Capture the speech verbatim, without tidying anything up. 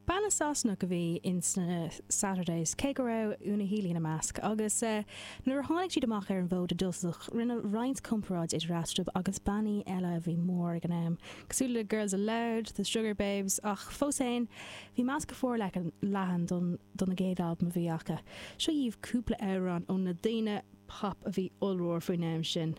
Banna Sasanach a bhí in sna Saturdays cé go raibh Una Healy ina measc agus uh, nuair a tháinig siad amach ar an bhfód i dtosach rinneadh roinnt comparáid idir eatarthu agus bannaí eile a bhí mór ag an am. Cosúil le Girls Aloud, The Sugababes ach fós féin bhí meas go forleathan don don na gcéad albam a bhí acu. Seo dhaoibh cúpla amhrán ó na daoine pop a bhí ollmhór faoin am sin.